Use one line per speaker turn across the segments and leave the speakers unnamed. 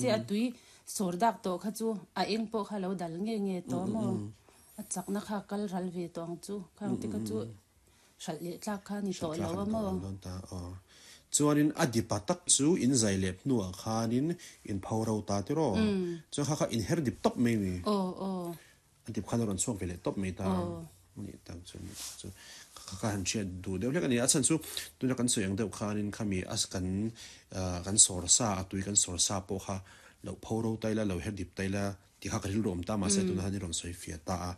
Che a tui sawr dak tawh kha chu a eng pawh kha lo dal nge nge tawh maw? A chakna kha kal ral ve tawh ang chu. Khang te kha chu hralh leh tlak kha ni tawh lo a maw?
Chuanin a dipa tak chu in zai lep hnuah khanin in pho ro ta tiraw? Chuan kha kha in her dip tawp mai mi?
Aw aw.
A dip khan a rawn chhuak ve leh tawp mai ta. Ni tak chu ni tak chu kha kha han hriat duh deuh hlek a ni. A chhan chu tuna kan sawi ang deuh khanin khami a kan kan sawr sa a tui kan sawr sa pawh kha lo pho ro ta ila lo her dip ta ila tih kha ka rilru awm ta mahse tuna han i rawn sawi fiah ta a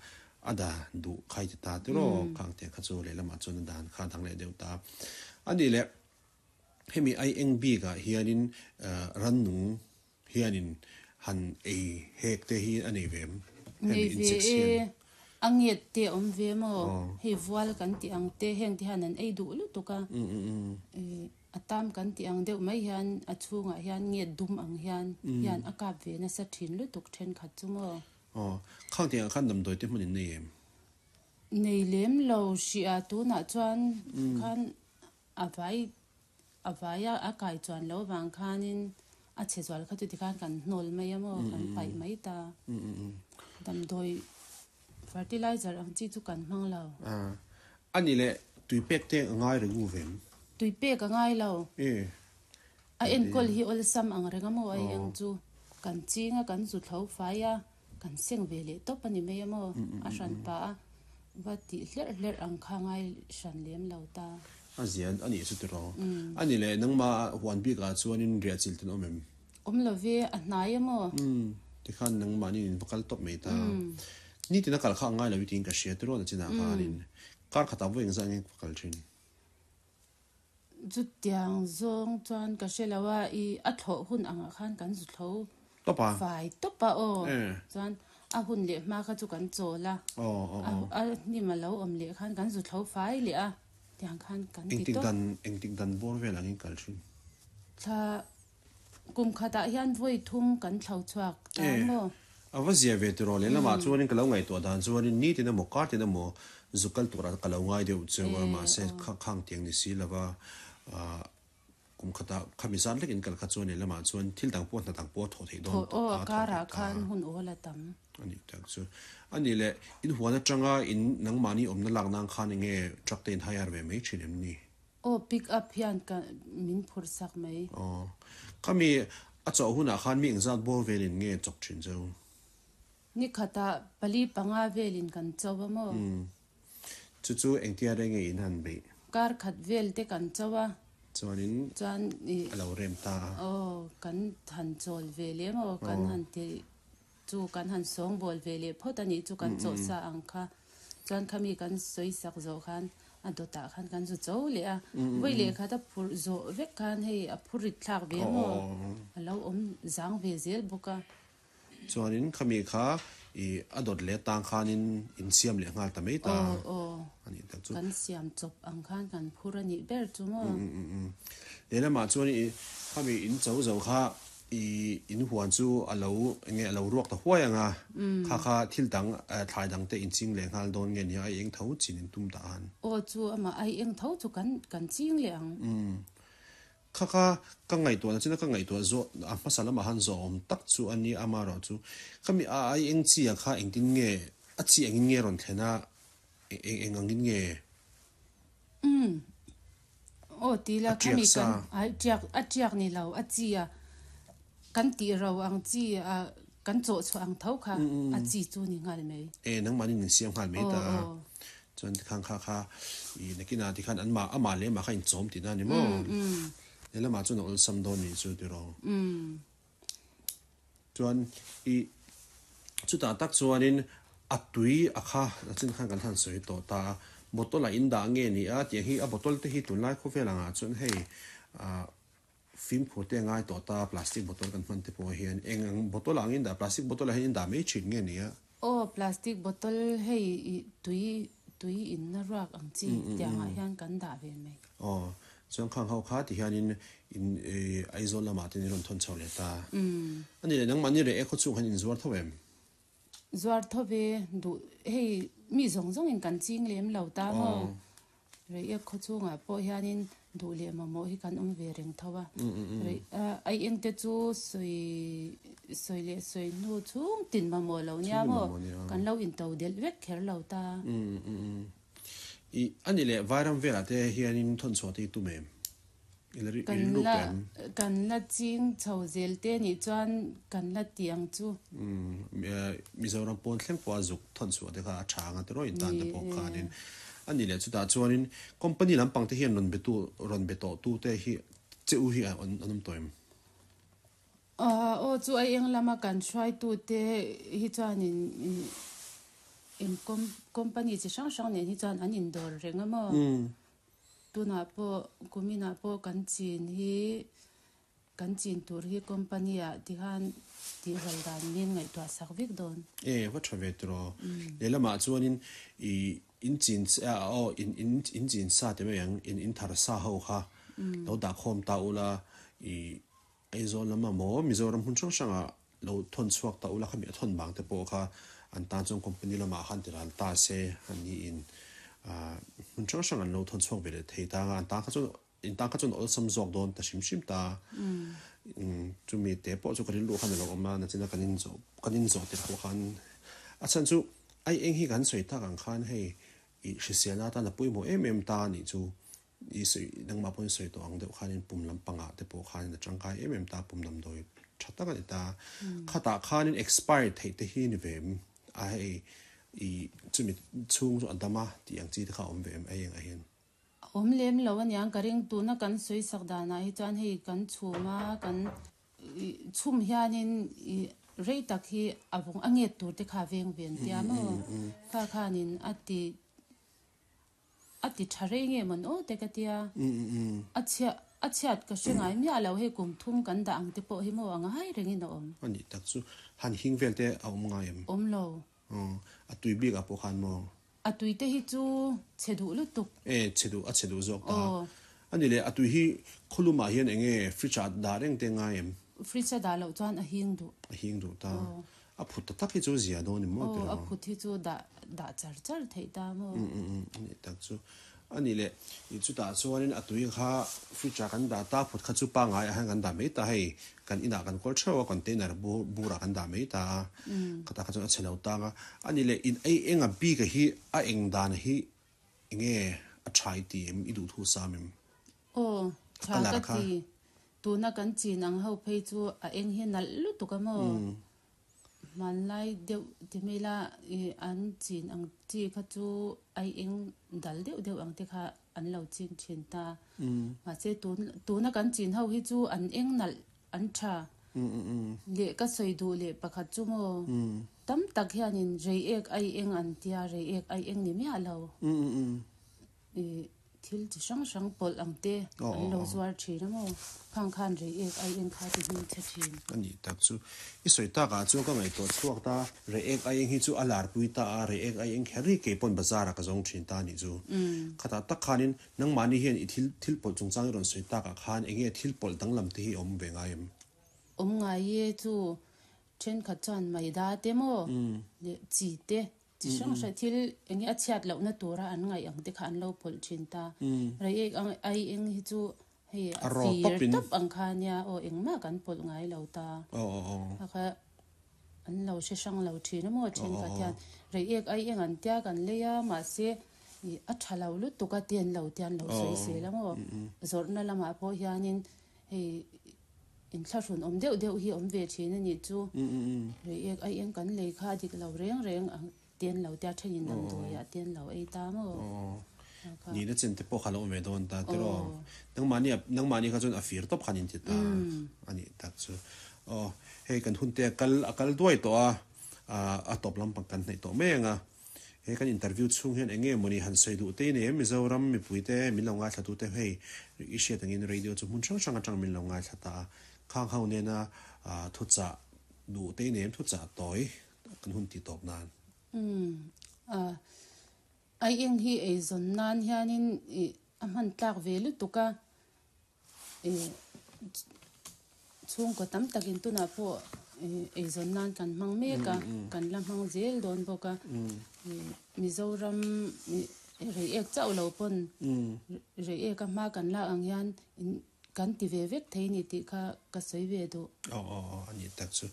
a da duh khai ti ta tiraw khang tiang kha chu lehlamah chuan a dan kha a dang leh deuh ta a ni le. Hemi ai eng bikah hianin rannung Hianin han ei hek te hi a nei ve em?
Nei ve e, a nget te a awm ve maw? Hei vual kan tih ang te heng te hian an ei duh lutuk a, a tam kan tih ang deuh mai hian a chhungah hian nget dum ang hian hian a kap ve nasa thin lutuk thenkhat chu maw?
Aw, khang tiangah khan damdawi te hmun in nei em?
Nei lem lo hrih a, tunah chuan khan A vai a vaia a kai chuan lo vang khanin a chhe zual kha chu tikhan kan hnawl mai a maw, kan paih mai ta. Damdawi fertilizer ang chi chu kan hmang lo.
A nih leh tui pek te a ngai reng u vem?
Tui pek a ngai lo. A enkawl hi awlsam ang reng a maw ai eng chu kan ching a kan zu thlo fai a. Kan seng ve leh tawp a ni mai a maw? A hran pah a, va tih hlerh hlerh ang kha ngai hran lem lo ta.
A zian a nih chu tiraw? A ni leh, nangmah huan bikah chuanin riah chil ten awm em?
Awm lo ve, a hnai a maw?
Tikhan nangmahni in va kal tawp mai ta. Nitin a kal kha a ngai lo i tiin ka hria tiraw na chinah khanin kar khatah vawi engzah nge ka kal thin?
Chutiang zawng chuan ka hre lo a, i a thlawh hun angah khan kan zu thlo fai tawp a aw. Chuan a hun leh hma kha chu kan chawl a, a hnim a lo awm leh khan kan zu thlo fai leh a, tiang khan kan ti tawp.
Engtik dan bawr vel angin kal thin?
Thla kum khatah hian vawi thum kan thlo chhuak ta maw?
A va zia ve tiraw lehlamah chuanin ka lo ngaihtuah dan chuanin nitin emaw kartin emaw zu kal turah ka lo ngai deuh cheu a mahse khang tiang ni si lova kum khatah khami zat lek in kal kha chuan lehlamah chuan thil dang pawh hna dang pawh a thawh theih dawn
tawh a thawh theih ta
a ni tak chu a ni leh in huan atanga in nangmahni awmna lak nan khan enge truck te in hire ve mai thin em ni?
Aw pick up hian ka min phur sak mai.
Aw. Khami a chawh hunah khan mi engzat bawr velin nge chawk thin cheu?
Ni khatah pali panga velin kan cho a maw?
Umm. Chu chu engtia reng nge in han beih?
Kar khat vel te kan cho a.
Chuanin
Chuan i.
A lo rem ta a.
Aw kan han chawl ve leh maw? Kan han ti Chu kan han sawngbawl ve leh phawt a nih chu kan chawh sa ang kha. Chuan khami kan sawi sak zawh khan a dawtah khan kan zu cho leh a. Vawi leh khat a phurh zawh vek khan hei a phur rit thlak ve maw? A lo awm zang ve zel bawk a.
Chuanin khami kha i a dawt leh tang khanin in siam leh nghal ta mai ta a nih tak chu.
Kan siam chawp ang khan kan phur a nih ber chu maw?
Lehlamah chuan i khami in cho zo kha I in huan chu a lo enge a lo ruak ta huai ang a, kha kha thil dang thlai dang te in ching leh nghal dawn nge nia ai eng tho chin in tum ta an.
Aw chu amah ai eng tho chu kan kan ching leh ang.
Umm. Kha kha ka ngaihtuahna china ka ngaihtuah zawh a hmasa lamah han zawh awm tak chu a nia amaherawh chu khami a ai eng chi ah kha engtin nge a chi engin nge rawn thlen a eng eng angin nge.
Umm. Aw ti la khami kan ai tiak a tiak ni lo a chi a kan tih ro ang chi a kan chawh chhuah ang tho kha a chi chu ni nghal mai.
E nangmahni nin siam nghal mai ta chuan tikhan kha kha i nakinah tikhan an mah amah leh amah kha inchawm tihna a ni maw? Lehlamah chuan a awlsam dawn nih chu tiraw. Chuan i chutah tak chuanin a tui a kha a chin khan kan han sawi tawh ta a, bottle ah in dah nge ni a tiang hi a bottle te hi tunlai khawvel angah chuan hei ah fimkhur te a ngai tawh ta plastic bottle kan hman te pawh hian eng ang bottle ah ang in dah plastic bottle ah hian in dah mai thin nge ni a.
Aw plastic bottle hei i tui tui in na ruak ang chi tiang ah hian kan dah ve mai.
Aw Chuan khang ho kha ti hianin in Aizawl lamah te in rawn thawn chho leh ta. A ni leh nangmahni reh e khaw chhung han in zuar tho em?
Zuar tho ve duh hei mi zawng zawng in kan ching lem lo ta maw? Reiek khaw chungah pawh hianin duh leh mamawh hi kan awm ve reng tho a. Ai eng te chu sawi sawi leh sawi hnu chhung tin mamawh lo nia maw? Kan lo into delh vek kher lo ta.
I a ni leh Vairam velah te hianin thawnchhuah te hi tum em? I la
Kan
rilru
la
em?
kan la ching chho zel te nih chuan kan la ti ang chu.
Mizoram pawn thleng pawha zuk thawnchhuah te kha a tha anga tiraw intan
Ni
te pawh
e.
khanin a ni leh chutah chuanin company lampang te hian rawn betu rawn be tawh tu te hi che u hi an awm tawh em?
Aw chu a eng lama kan hruaitu te hi chuanin eng company chi hrang hrang nen hi chuan an indawr reng a maw? Tunah pawh kuminah pawh kan chin hi kan chin tur hi company ah tikhan tihral dan min ngaihtuah sak vek dawn.
E va tha ve tiraw. Lehlamah chuanin i in chin aw in in in chin sa ti mai ang in in thar sa ho kha lo dah khawm ta ula i Aizawl lama maw Mizoram hmun hrang hrangah lo thawn chhuak ta ula khami a thawn vang te pawh kha an tan chuan company lamah khan ti ral ta se an ni in hmun hrang hrang an lo thawn chhuak ve leh thei ta anga an tan kha chuan in tan kha chuan awlsam zawk dawn ta hrim hrim ta chumi te pawh chu ka rilru khan a lo awm a nachina kan in zawh kan in zawh tirh pawh khan a chhan chu ai eng hi kan sawi tak ang khan hei i hriselna atan a pawimawh em em ta anih chu. I sawi nangmah pawhin sawi tawh ang deuh khanin pum lampangah te pawh khanin a tangkai em em ta, pum damdawi tha tak a ni ta. Khatah khanin expire theih te hi ni ve em? A hei i chumi chhung chu a dam a tih ang chi te kha a awm ve em ei engah hian?
A awm lem lo aniang ka ring tuna kan sawi sak danah hi chuan hei kan chhum a kan chhum hianin i rei tak hi a vawng a nget tur te kha a veng ve an tia maw? Kha khanin a ti A ti tha rei nge mawn aw te ka tia. A chhiat a chhiat ka hre ngai miah lo hei kum thum kan dah ang te pawh hi maw a ngai rengin a awm.
A nih tak chu han hing vel te a awm ngai em?
Awm lo.
Aw a tui bik ah pawh khan maw?
A tui te hi chu chhe duh lutuk.
E chhe duh a chhe duh zawk ta. A ni leh a tui hi khawlum ah hian eng nge fridge ah dah reng te ngai em?
Fridge a dah loh chuan a hing duh.
A hing duh ta. A phut ta tak hi chu zia dawn em maw tiraw?
Aw, a phut hi chu dah dah char char theih ta maw?
Um um um, a nih tak chu. A nih leh, i chutah chuanin a tui kha fridge ah kan dah ta, phut kha chu pangngai ah hian kan dah mai ta hei, kan inah kan kawl theuh a, container bur burah kan dah mai ta a, khatah kha chuan a chhe lo tang a. A nih leh, in ei enga bik a hi a eng dan hi enge a tha i ti em, i duhthu sam em?
Aw, tha ka ti. Tuna kan chin ang ho phei chu a eng hi nalh lutuk a maw? Hmanlai deuh ti mai la i an chin ang chi kha chu ai eng dal deuh deuh ang te kha an lo ching thin ta. Mahse tun tuna kan chin ho hi chu an eng nalh an tha. Leh ka sawi duh leh pakhat chu maw? Tam tak hianin reiek ai eng an tia reiek ai eng ni miah lo. I Thil chi hrang hrang pawlh ang te an lo zuar thin a maw? Khang khan rei ek ai eng kha ti hming chhe thin.
A nih tak chu. I sawi tak ah chuan ka ngaihtuah chhuak ta, rei ek ai eng hi chu a lar pui ta a, rei ek ai eng kher hi kei pawn bazar ah ka zawng thin ta a nih chu. Khatah tak khanin nangmahni hian i thil thil pawlh chungchang i rawn sawi tak ah khan enge thil pawlh danglam te hi a awm ve ngai em?
Awm ngai e chu thenkhat chuan maida te maw leh chi te Chi hrang hrang thil eng nge a chhiat lohna tura an ngaih ang te kha an lo pawlh thin ta. Reiek ang ai eng hi chu hei a fir tawp ang kha nia aw engmah kan pawlh ngai lo ta. Kha kha an lo hre hrang lo thin a maw thenkhat hian reiek ai eng an tia kan lei a mahse ih a tha lo lutuk a tian lo tian lo sawi zel a maw. Zawrhna lamah pawh hianin hei Inthlahrun awm deuh deuh hi awm ve thin a nih chu. Reiek ai eng kan lei kha a dik lo reng reng a ten lo tia thenin damdawi ah ten lo ei ta maw?
Nihna chen te pawh kha lo awm ve dawn ta tiraw? Nangmahni nangmahni kha chuan a fir tawp khan inti ta a nih tak chu. Aw hei kan hun te a kal a kal duai tawh a, a tawp lampang kan hnaih tawh mai ang a. He kan interview chhung hian eng nge mawni han sawi duh te nei em? Mizoram mipui te min lo ngaithla tu te hei i hriat angin radio chu hmun hrang hrang atang min lo ngaithla ta a, khang ho nena thuchah duh te nei em thuchah tawi kan hun tih tawp nan.
Umm a ai eng hi eizawn nan hianin ih a hman tlak ve lutuk a. Chhungkaw tam takin tunah pawh eizawn nan kan hmang mek a, kan la hmang zel dawn bawk a. Mizoram. Reiek chauh lo pawn Reiek a hma kan lak ang hian kan ti ve vek thei ni tih kha ka sawi ve duh.
Aw aw aw a nih tak chu.